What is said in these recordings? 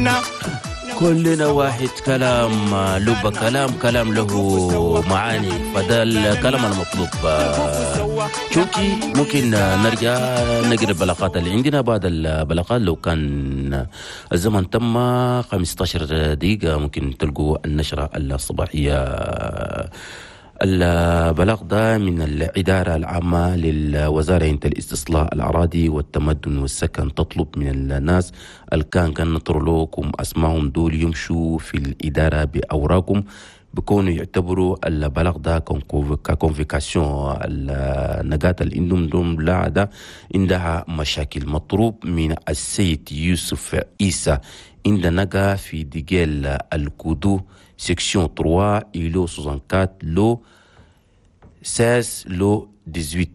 كلنا. كلنا واحد. كلام لب، كلام كلام له معاني، فده الكلام المطلوب. شوكي ممكن نرجع نقرا البلاغات اللي عندنا. بعد البلاغات لو كان الزمن تم 15 دقيقة ممكن تلقوا النشرة الصباحية. البلاغ ده من الإدارة العامة للوزارة انت الاستصلاح الأراضي والتمدن والسكن، تطلب من الناس اللي كان نطرلوكم أسمائهم دول يمشوا في الإدارة بأوراقهم، بكونوا يعتبروا البلاغ ده ك convocation. النقاط اللي عندهم دوم لا ده عندها مشاكل. مطلوب من السيد يوسف عيسى عند نقا في ديجيل الكودو section 3 îlot 64 lot 16 lot 18.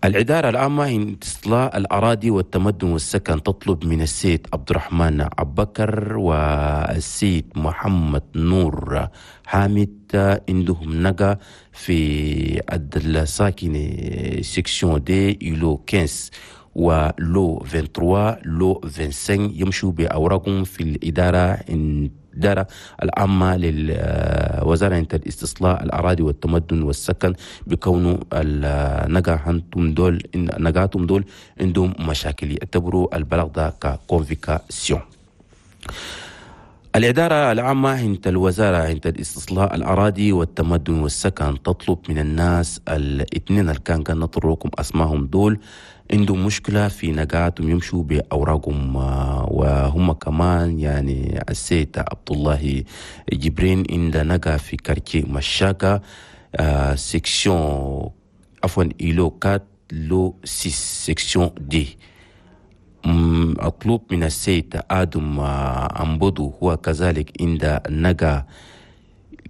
الإدارة العامة لاستصلاح الأراضي والتمدن والسكن تطلب من السيد عبد الرحمن أبكر والسيد محمد نور حامد عندهم نقا في الساكنة section deux îlot 15 و lot 23 lot 25، يمشوا بأوراقهم في الإدارة العامة للوزارة الاستصلاح الأراضي والتمدن والسكن، بكونه النقا دول نقاتهم دول عندهم مشاكل، يعتبروا البلاغ ده ك convocation. الإدارة العامة عند الوزارة عند الاستصلاح الأراضي والتمدن والسكن تطلب من الناس الاثنين اللي كان نطركم أسمائهم دول عندهم مشكلة في نقاتهم يمشوا بأوراقهم، وهم كمان يعني السيد عبد الله جبرين عند نقا في quartier مشاكا section عفوا îlot 4 lot 6 section D. مطلوب من السيد آدم أمبودو هو كذلك عند نقا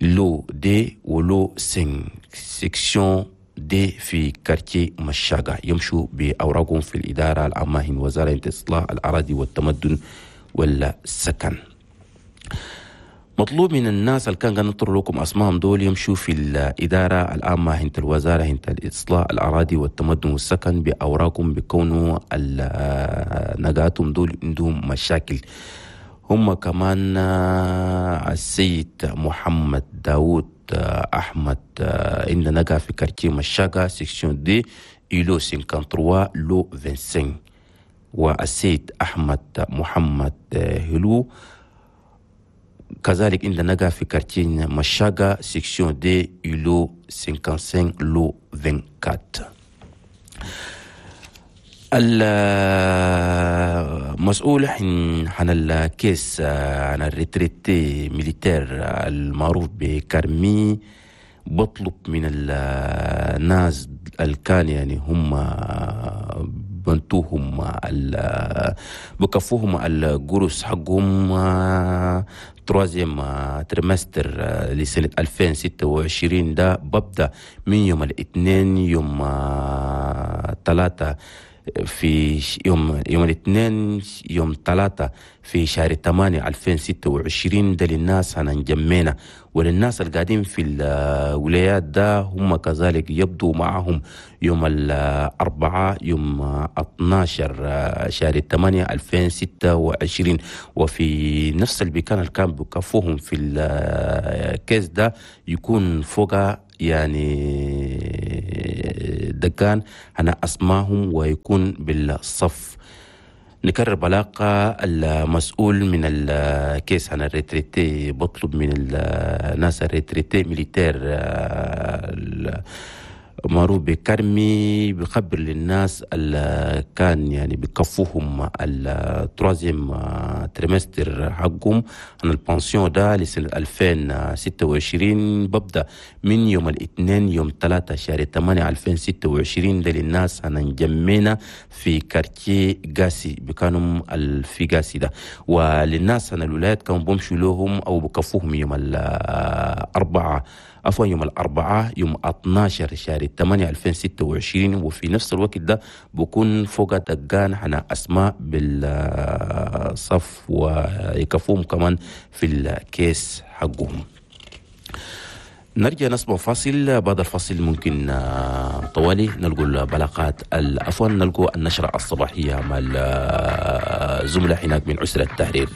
lot deux و lot 5 section D في quartier مشاقة، يمشوا بأوراقهم في الإدارة العامة وزارة إصلاح الأراضي والتمدن والسكن. مطلوب من الناس اللي كان نطر لكم أسمائهم دول يمشوا في الإدارة العامة هنت الوزارة هنت الإصلاح الأراضي والتمدن والسكن بأوراقهم، بكونوا نقاتهم دول عندهم مشاكل. هم كمان السيد محمد داود أحمد عند نقا في quartier مشاقة section deux îlot 53 lot 25، والسيد أحمد محمد هلو كذلك عند نقا في quartier مشاقة section deux îlot 55 lot 24. المسؤول عن ال caisse عن ال retraités militaires المعروف بكرمي بطلب من الناس اللي كان يعني هم بنتوهم بكفوهم القروس حقهم troisième trimestre لسنة 2026 ده ببدأ من يوم الاثنين يوم 3 في يوم الاثنين يوم 3 في شهر 8 2026 ده للناس هنجمعنا، وللناس اللي قاعدين في الولايات ده هم كذلك يبدو معهم يوم الأربعاء يوم 12 شهر 8 2026، وفي نفس المكان اللي كان بكفوهم في ال caisse ده يكون فوق يعني دكان أنا أسماهم ويكون بالصف. نكرر بلاقة المسؤول من ال caisse عن ال retraités بطلب من الناس ال retraités militaires معروف بكرمي بخبر للناس اللي كان يعني بكفوهم ال troisième trimestre حقهم عن ال pension ده لسنة 2026 ببدأ من يوم الاثنين يوم 3 شهر 8 2026 ده للناس هنجمعنا في quartier قاسي بكانوا في قاسي ده، وللناس عن الولايات كانوا بمشوا لهم أو بكفوهم يوم الأربعاء عفوا يوم الأربعاء يوم 12 شهر 8 2026، وفي نفس الوقت ده بكون فوق دقان حنا أسماء بالصف ويكفوهم كمان في ال caisse حقهم. نرجع نسمع فاصل، بعد الفاصل ممكن طوالي نلقوا البلاغات، عفوا، نلقوا النشرة الصباحية مع الزملاء هناك من أسرة التحرير.